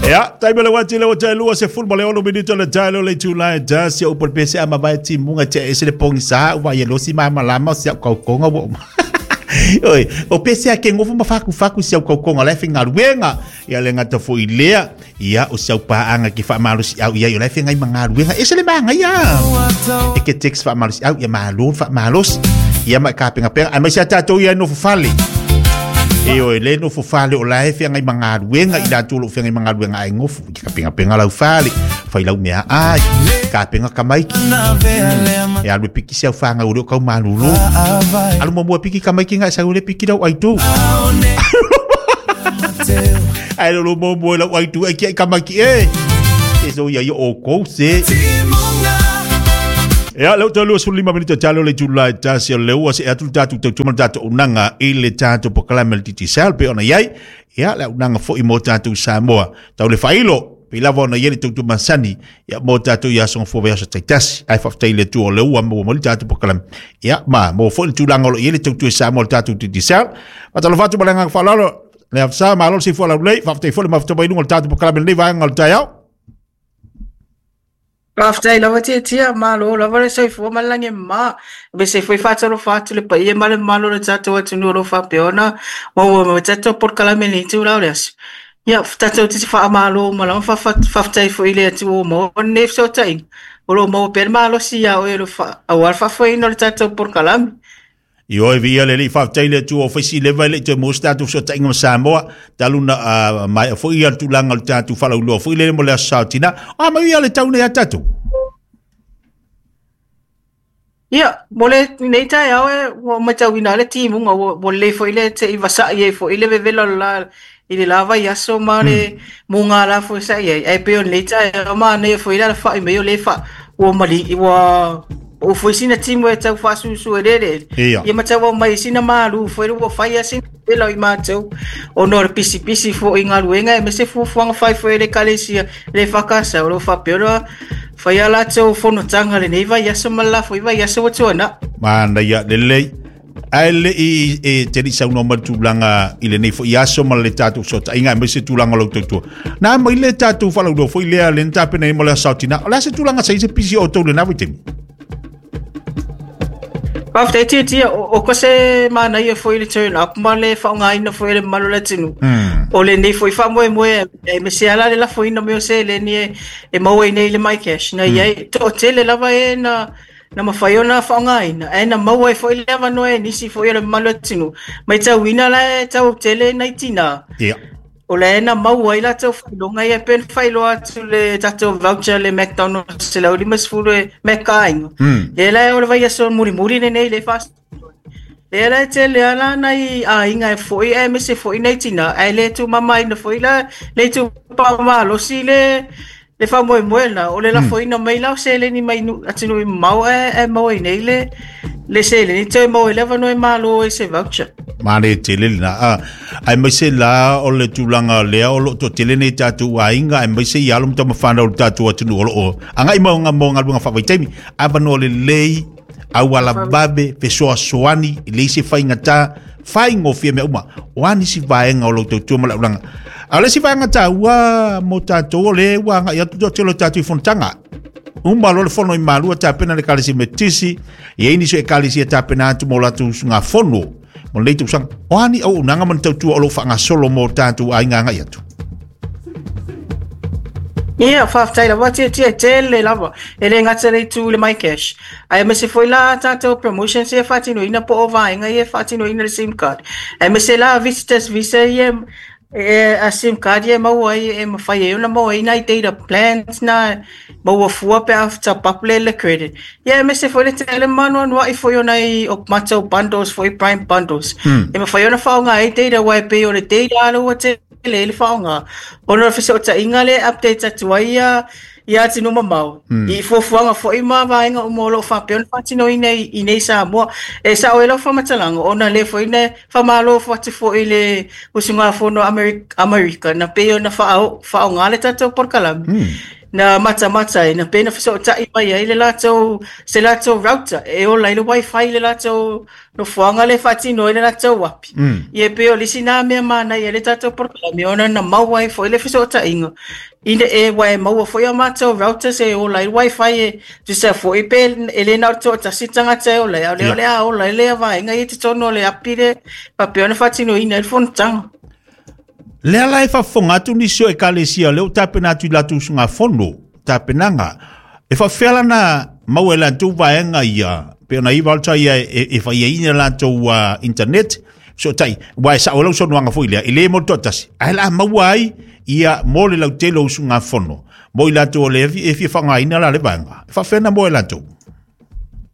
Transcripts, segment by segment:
Ia, taimi o le uati le ua tae 26 minute o le taelo le itula e tasi o upu le pese a mavae timuga tea ese le pogisa ua ia losi malamalama o si au kaukonga ua uma. Oi, o pese a ke ngofo ma faku faku si au kaukonga la e faigaluega. Ia le gata foi lea, ia o si au paaga ke faamalosi au ia o la e feagai ma galuega. Ese le magaia. E ke text faamalosi au ia malo faamalosi. Ia ma e kapengapenga. Aemaise a tatou ia e nofo fale. E oe le nofo fale o la e feagai ma galuega i latou o lo o feagai ma galuega ae gofo i kapengapenga lau fale. Fai lau mea ai. Kapenga kamaiki. E alu e piki si au whāngau o leo kau malulu. Alu mua mua piki kamaiki ngai sau le piki lau aitu. Ai lo mo mo lau aitu ai kia kamaiki e. E so ia i o kou se. Ia, leo tau 25 minute talo le tula e tasi o leo se atu tatu tau tuma tatu unanga i le tatu pokalame le Digicel pe ona iai. Ia, le unanga foi mo tatu Samoa. Tau le whailo, pe lava ona iai le tau tuma sani. Ia, mo tatu ia songa fua vea sa taitasi. Ai whaftai le tu o leo ua mo mo le tatu pokalame. Ia, ma, mo foi le tulaga o lo i ai le tautua i Samoa le tatu Digicel. Fatalofa atu ma le agaga faaaloalo. Le afisa, malo le soifua laulelei, faafetai foi le mafuta mai luga o le tatou polokalame i lenei vaega o le taeao. Faafetai lava Tiatia, malo lava le soifua ma le lagi e mama. Aemaise foi faatalofa atu le paia ma le mamalu o le tatou atunuu o lo o faapea ona maua mai tatou polokalame i lenei itula o le aso. Ia, tatou te faamalo uma lava, faafetai foi i le Atua ua maua lenei fesootaiga, o lo o maua pea le malosi ia oe aua le faafoeina o le tatou polokalame. Ioe viia le Alii, faafetai i le Atua ua fai sileva e le i toe maua se tatou fesootaiga ma Samoa, talu na uh, maea foi ia le tulaga o le tatou faalauiloa foi lele mo le Aso Sa o Tina. O a mai ia le tau nei a tatou? Ia, mo le nei taeao e ua matauina le timuga ua, ua lelei foi le te i vasa'i ai foi le vevela o le la i le la vaiaso ma le mugala foi sa i ai. Ae pei o lenei taeao manaia foi le alafa'i mai o lē fa ua mali ua ua foi sina timu e tau faasusu e lele. Ia. Ia ma tau aumai sina malu foi ua fai a sina vela o i matou ona o le pisipisi foi i galuega aemaise fuafuaga fai foi a le Ekalesia le EFKS o lo o faapea ona fai a latou fonotaga lenei vaiaso ma le la foi vaiaso ua tuanai. Manaia lelei. Ae le i e te le i saunoa mai le tulaga i lenei foi aso ma le tatou fesootaiga aemaise tulaga o lau tautua. Na mai le tatou faalauiloa foi lea le na tapena ai mo le aso tina. O le a se tulaga sa i se pisi o outou i lena vaitaimi? Faafetai Tiatia, o ko se manaia foi le turn up ma le faaaogaina foi e le mamalu o le atunuu. O lenei foi faamoemoe aemaise lava la le lafoina mai o seleni e maua ai nei le MyCash. Na i ai toatele lava e na na mafai ona faaaogaina, ae na maua ai foi le avanoa e nisi foi o le mamalu o le atunuu. Matauina la e tau tele nai tinā. Ia. O la e na maua ai latou faailoga ia pei ona faailoa atu le tatou voucher le McDonald's 150 e Mac aiga. Lea la o le vaiaso mulimuli lenei le fas. Lea la e tele lava la nai aiga e foi aemaise foi nai tinā ae le tumamaina foi la le itupa malosi le le faamoemoe lena o le lafoina mai la o seleni mai atunuu mamao ae maua ai nei le seleni toe maua ai le avanoa e malo ai se voucher. Male tele lena. Ah, aemaise la o le tulaga lea o lo o toatele nei tatou aiga aemaise i alo ma tamafanau o le tatou atunuu o lo o agai mo galuega faavaitaimi avanoa lelei auala vave fesoasoani e leai se faigata faigofie mea uma o a nisi vaega o lou tautua ma le aulaga a o le isi vaega taua mo tatou o le ua agai atu toatele o tatou i fonotaga uma loa le fono i Malua tapena le Ekalesia Metotisi e i ai nisi o Ekalesia tapena atu mo latou usugafono mo lenei tausaga o a ni auaunaga ma ni tautua o lo o faagasolo mo tatou aiga agai atu. Ia, faafetai lava Tiatia, e tele lava. E le gata i le itu i le MyCash, ae aemaise foi la tatou promotions ia e faatinoina po o vaega ia e faatinoina i le sim card. Aemaise la visitors visa ia e a sim card ia e maua ai e mafai ai ona maua ai nai data plans na maua fua pe a top up le le credit. Ia aemaise foi le tele ma anoanoai foi o nai o matou bundles foi prime bundles. E mafai ona faaaoga ai data aua e pei o le data lea ua tele ai le faaaoga ona o le fesootaiga lea e update atu ai ia ia atunuu mamao i fuafuaga foi ma vaega uma o lo o faapea ona faatinoina i nei Samoa. E sao ai lau faamatalaga ona lea foi na faamalo atu foi i le usugafono a Amerika na pei ona faaaoga le tatou polokalame. Na matamata ai, na pei ona fesootai mai ai le latou, se latou router e ola ai le wifi i le latou nofoaga lea e faatino ai le latou api. Ia e pei o le isi na mea manaia i le tatou polokalame ona na maua ai foi le fesootaiga ina e aua e maua foi a matou routers e ola ai le wifi e tusa foi pe e le na o le toatasi le tagata e ola ai, a o lea o le a ola ai lea vaega ia i totonu o le api lea e faapea ona faatinoina ai le fonotaga. Lea la e faafofoga atu nisi o ekalesia lea ua tapena atu i latou usugafono, tapenaga. E faafefea la na maua e latou vaega ia, pei ona i voucher ia e fai ai ni latou internet, fesootai, aua e sao ai lau saunoaga foi lea, e le mo le toatasi, ae o le a maua ai ia mo le lautele o usugafono, mo i latou o lea e fia faaaogaina la le vaega. E faafefea na maua e latou?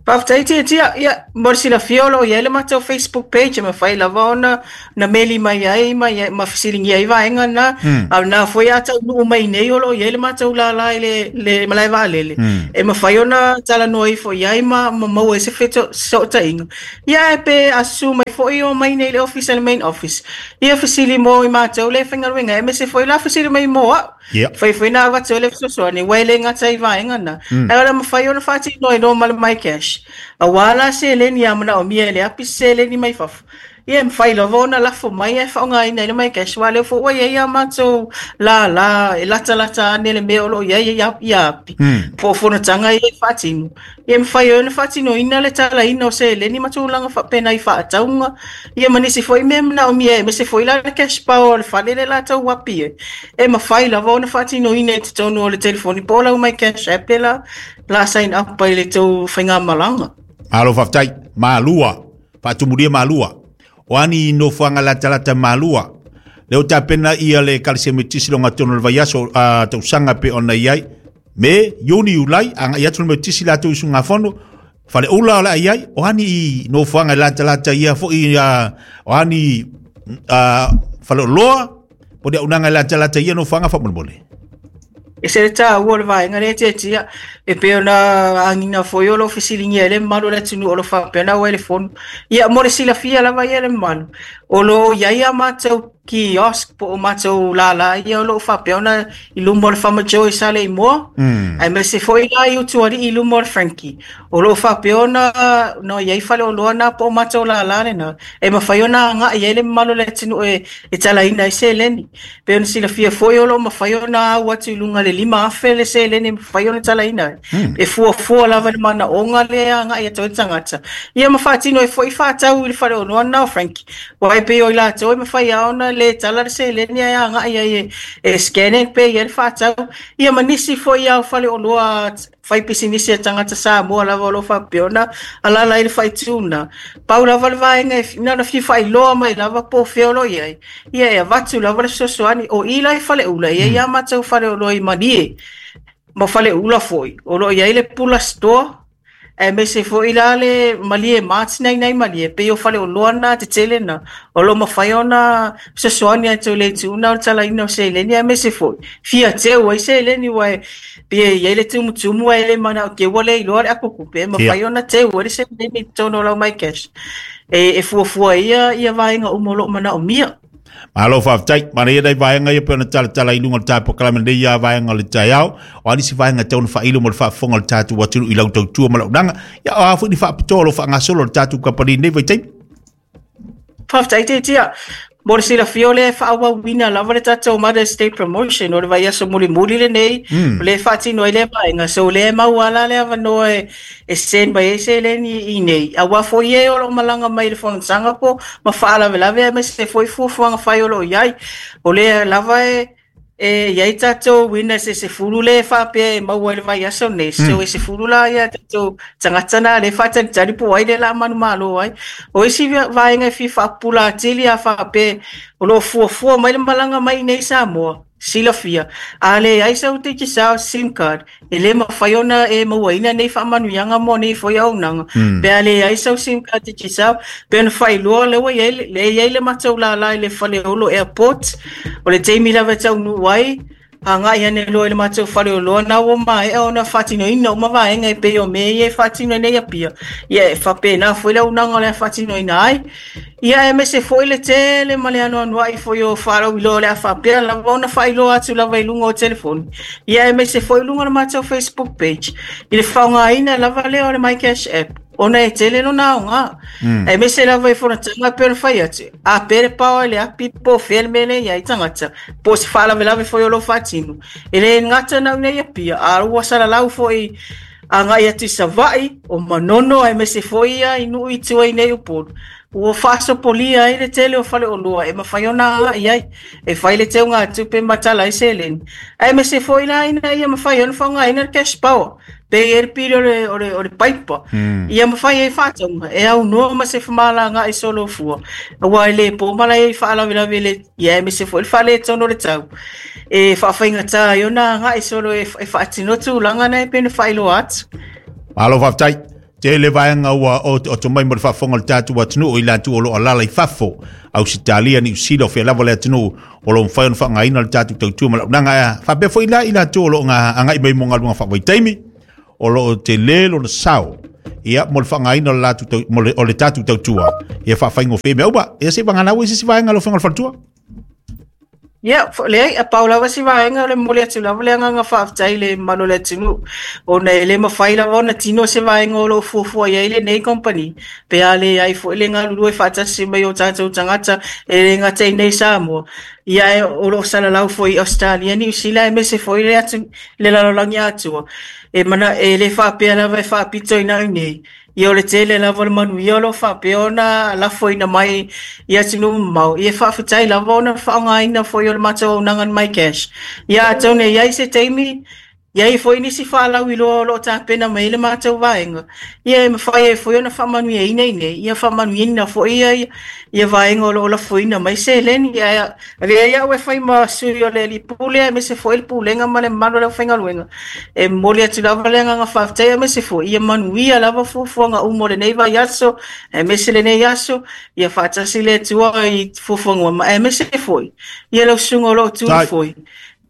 Faafetai Tiatia, ia mo le silafia o lo o i ai le matou Facebook page e mafai lava ona na meli mai ai ma, ma fesiligia ai vaega na. A o lena foi a taunuu mai nei o lo o i ai le matou lala i le malae vaalele e mafai ona talanoa ifo i ai ma maua ai se fesootaiga. Ia ae pe a susu mai foi o mai nei i le ofisa le main office, ia fesili mo i matou le faigaluega aemaise foi la fesili mai mo au. Fai foi na avatu ai le fesoasoani, aua e le gata i vaega na, ae o le a mafai ona faatino ai loa ma le MyCash. Aua la seleni a manaomia e le api se seleni mai fafo, ia e mafai lava ona lafo mai ae faaaogaina ai le MyCash, aua o lea foi ua i ai a matou lala e latalata ane le mea o lo o i ai ia api, po o fonotaga ia e faatino. Ia e mafai ai ona faatinoina le talaina o seleni ma tulaga faapena i faatauga, ia ma nisi foi mea e manaomia aemaise foi la le cash power o le fale lea latou api ai, e mafai lava ona faatinoina i totonu o le telefoni po o lau My Cash App lea la, la sign up ai i le tou faigamalaga. Malo faafetai. Malua. Faatumulia Malua. O a ni nofoaga latalata Malua. Lea ua tapena ia le Ekalesia Metotisi i logatonu o le vaiaso tausaga pei ona i ai. Me, Iuni, Iulai, agai atu le Metotisi latou i usugafono, Faleula o le a i ai, o a ni nofoaga e latalata ia foi, o a ni faleoloa, po o ni auaunaga e latalata i ia nofoaga faamolemole. E ese le taua o le vaega lea e tiatia, e pei ona agiga foi o lo o fesiligia ai le mamalu o le atunuu o lo o faapea ona auai le fono. Ia, mo le silafia lava ia le mamalu, o lo o i ai a matou kiosk po o matou lala ia o lo o faapea ona i luma o le Farmer Joe i Saleimoa, aemaise foi la i Utualii i luma o le Frankie. O lo o faapea ona na i ai faleoloa na po o matou lala lena e mafai ona agai ai le mamalu o le atunuu e talaina ai seleni. Pei ona silafia foi o lo o mafai ona au atu i luga i le 5,000 le seleni e mafai ona talaina ai. E fuafua lava i le manaoga lea e agai atu ai le tagata. Ia ma faatino ai foi faatau i le faleoloa lena o Frankie. Aua e pei o i latou e mafai lava ona le tala le seleni ae agai ai e scan e pay ai le faatau. Ia ma nisi foi lava o faleoloa faipisinisi a tagata Samoa lava o lo o faapea ona alaala ai le faaitu lena. Pau lava le vaega e na ona fia faailoa mai lava po o fea o lo o i ai, ia e avatu lava le fesoasoani. O i la i Faleula, e i ai lava matou faleoloa i Malie ma Faleula foi, o lo o i ai le Pula Store, aemaise foi la le Malie Mart na i inā i Malie, pei o faleoloa na tetele na, o lo o mafai ona fesoasoani atu i le itu na o le talaina o seleni, aemaise foi fia teu ai seleni, aua e pei e i ai le tumutumu ae le manao teu ua le iloa le apo tupe, e mafai ona teu ai le seleni i totonu o lau MyCash. E fuafua ai ia vaega uma o lo o manaomia. Malo faafetai. Manaia nai vaega ia pei ona talatala i luga o le tatou polokalame lenei ia vaega o le taeao. O a nisi vaega e tatau ona faailo mo le faafofoga o le tatou atunuu i lau tautua ma lau auaunaga. Ia o a foi ni faapitoa o lo o faagasolo le tatou kamupani i lenei vaitaimi. Faafetai Tiatia. Mo le silafia o lea e faaauauina lava le tatou Mother's Day Promotion o le vaiaso mulimuli lenei, o lea e faatino ai lea vaega. So o lea e maua lava la le avanoa e send mai ai seleni i inei, aua foi e o lo o malaga mai i le fonotaga po ma faalavelave aemaise foi fuafuaga fai o lo o i ai. O lea lava e i ai tatou winners e 10 lea e faapea e maua i le vaiaso nei. So e 10 la ia tatou tagata na lea e faatalitali po o ai lea o le a manumalo ai. O isi vaega e fia faapupula atili a faapea o lo o fuafua mai le malaga mai i inei i Samoa, silafia, a leai sau Digicel sim card, e le mafai ona e mauaina nei faamanuiaga mo nei foi auaunaga. Pe a leai sau sim card Digicel, pe ona faailoa lea ua i ai, lea e i ai le matou lala i le Faleolo Airport, o le taimi lava e taunuu ai, Agai ane loa i le matou faleoloa na ua maea ona faatinoina uma vaega e pei o mea ia e faatino ai nei Apia. Ia e faapena foi le auaunaga o le a faatinoina ai. Ia aemaise foi le tele ma le anoanoai foi o faalauiloa o le a faapea lava ona faailoa atu lava i luga o telefoni. Ia aemaise foi i luga o le matou Facebook page i le faaaogaina lava lea o le MyCash app ona e tele lona aoga. Aemaise lava i fonotaga e pei ona fai atu, a pe le power i le api po o fea le mea lea e i ai tagata, po o se faalavelave foi o lo o faatino. E le gata na o i inei i Apia, a ua salalau foi agai atu i Savaii, o Manono aemaise foi ia i nuu i tua i nei Upolu, ua faasopolia ai le tele o faleoloa e mafai ona agai ai e fai le teugatupe ma tala ai seleni, aemaise foi la ina ia mafai ona faaaogaina le cash power pe i ai le pili o le paipa, ia mafai ai faatauga e aunoa ma se femalagaai solofua, aua e le po malae ai faalavelave le ia aemaise foi le faaletonu o le tau e faafaigata ai ona agai solo e faatino tulaga na e pei ona faailoa atu. Malo faafetai. Tele vaega ua oto mai mo le faafofoga o le tatou atunuu i latou o lo o alaala i fafo, Ausetalia, Niu Sila, o fea lava le atunuu o lo o mafai ona faaaogaina le tatou tautua ma launaga. Ae faapea foi la i latou o lo o agai mai mo galuega faavaitaimi, o lo o tele lona sao ia mo le faaaogaina o le latou tau, mo le, o le tatou tautua ia faafaigofie mea uma. Ia se vagana ua i se isi vaega lau Afioga i le Faletua. Ia, leai, a pau lava si vaega o le momoli atu lava le agaga faafetai i le mamalu o le atunuu, ona e le mafai lava ona tino se vaega o lo o fuafua i ai lenei kamupani, pe a leai foi le galulue faatasi mai o tatou tagata e le gata i inei i Samoa, ia ae o lo o salalau foi i Ausetalia, Niu Sila aemaise foi le atu, le lalolagi atoa. E mana, e le faapea lava e faapito i na i inei, ia o le tele lava o le manuia o lo o faapea ona lafoina mai i atunuu mamao, ia faafetai lava ona faaaogaina foi o le matou auaunaga le MyCash. Ia atonu e i ai se taimi, i ai foi nisi faalauiloa o lo o tapena mai ai le matou vaega, ia e mafai ai foi ona faamanuiaina i inei, ia faamanuiaina foi ia, ia vaega o lo o lafoina mai seleni. Ae avea ai au e fai ma sui o le alii pule aemaise foi le pulega ma le mamalu o le aufaigaluega, e momoli atu lava le agaga faafetai aemaise foi ia manuia lava fuafuaga uma o lenei vaiaso aemaise lenei aso, ia faatasi le Atua i fuafuaga uma aemaise foi ia lau susuga o lo o tu foi,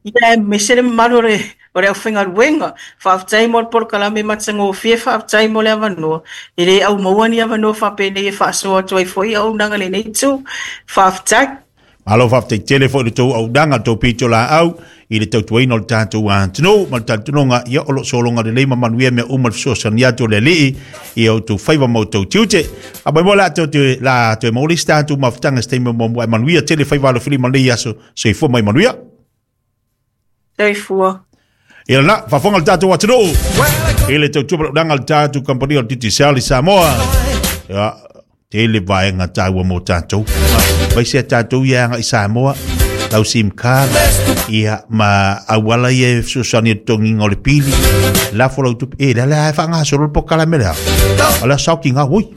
ia aemaise le mamalu o le o le aufaigaluega. Faafetai mo le polokalame matagofie, faafetai mo le avanoa. E le au maua ni avanoa faapenei e faasoa atu ai foi auaunaga i lenei itu. Faafetai. Malo faafetai tele foi i le tou auaunaga, le tou pitolaau i le tautuaina o le tatou atunuu ma le talitonuga ia o lo o sologa lelei ma manuia mea uma le fesoasoani atu o le Alii i a outou faiva ma outou tiute. A mai mo la toe toe la toe maua le isi tatou mafutaga se taimi muamua e manuia tele faiva alofilima i lenei aso. Soifua mai manuia. Soifua. Ia la, faafofoga le tatou atunuu i le tautua malaunaga a le tatou kamupani o le Digicel i Samoa. Ia, tele vaega taua mo tatou. Vaise a tatou ia agai i Samoa, lau SIM card, ia, ma auala ia e fesoasoani i le totogiina o le pili, lafo lau tupe, e, lea lea e faagasolo le polokalame lea. O lea sao ki ngā, oi,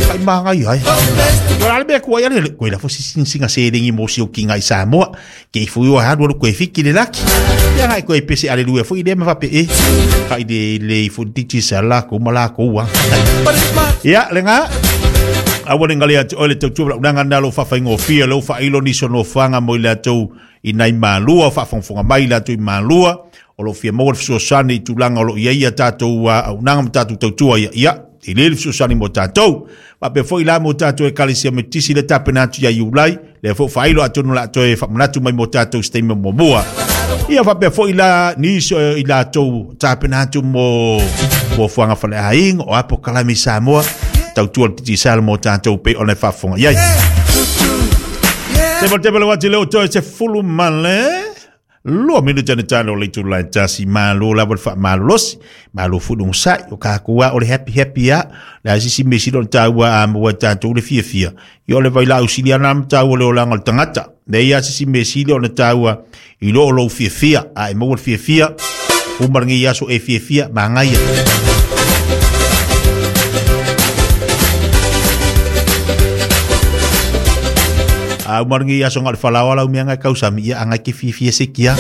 kai māngai ai. O la le mea kua ia le, koe lafo si singa seleni mo si o ki ngā i Samoa. Ke i fui o halu alu koe fiki le laki. Ia ngai koe pese aleluia fui le ma fape e. Ka i le le i fui titi sa la ko ma la ko wa. Ia le nga. Aua le ngale atu oe le tautua lau nanga nalo whawhaingofia lau whailo ni sono whanga mo i latou i nai malua whaafongafonga mai latou i malua o lo fia maua le fesoasoani i tulaga o lo o i ai ia tatou auaunaga ma tatou tautua ia ia tele le fesoasoani mo tatou faapea foi la mo tatou ekalesia Metotisi le tapena atu ia Iulai lea foi faailo atonu la toe faamanatu mai mo tatou se taimi muamua ia faapea foi la nisi o i latou tapena atu mo fuafuaga faleaiga o a polokalame i Samoa tautua le Digicel mo tatou pei ona e faafofoga i ai. Se mo te pele wati leo toe se fulu male 2 minute na tano le itula e tasi malo lava le faamalolosi malo foi le onosai o tatou a o le happy happy a le a sisi mea sili ona taua a maua e tatou le fiafia ia o le vailaau sili ana ma taua le olaga o le tagata leai a sisi mea sili ona taua i lo o lou fiafia a e maua le fiafia uma lenei aso e fiafia manaia. A uma lenei aso nga le falaoa lau mea ngai kausami ia angai ke fiafia se kia.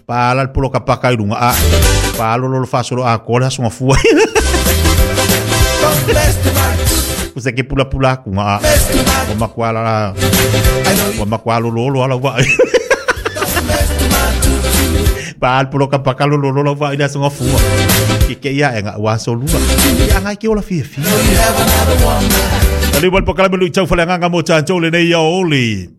Pala le poloka paka i lunga a. Palo lolo fasolo a kola aso nga fua. Kusa ke pula pula aku nga a. Wa makuala la. Wa makualo lolo ala wa. Pa al poloka pa kalo lo lo va ila songa fua. Ke ke ia enga wa so lua. Ia ngai ke ola fia fia. Ali wal pakala melu tau fale nganga mo tantou le nei ia oli.